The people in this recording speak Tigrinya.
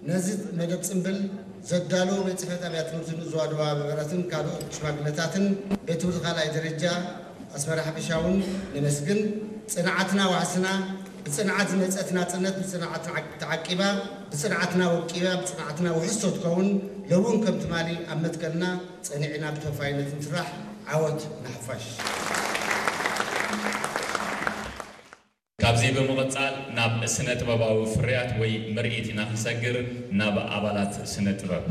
ነዚ መደብ ጽምብል ዘዳለዉ ቤት ጽሕፈት ኣብያተ ትምህርቲ ንኡስ ዞባ ደቡብ ኣበበረትን ካልኦት ሽማግለታትን ቤት ትምህርቲ ካልኣይ ደረጃ ኣስመራ ሓፈሻውን ነመስግን። ጽንዓትና ዋሕስና፣ ብጽንዓት ዝመጸት ናጽነት ብጽንዓት ተዓቂባ፣ ብጽንዓትና ወቂባ፣ ብጽንዓትና ውሕስቶ ትከውን። ሎውን ከም ትማሊ ኣብ መትከልና ጸኒዕና ብተወፋይነት ንስራሕ። ዓወት ንሓፋሽ። ካብዚ ብምቕጻል ናብ ስነ ጥበባዊ ፍርያት ወይ ምርኢት ኢና ክንሰግር፣ ናብ ኣባላት ስነ ጥበብ።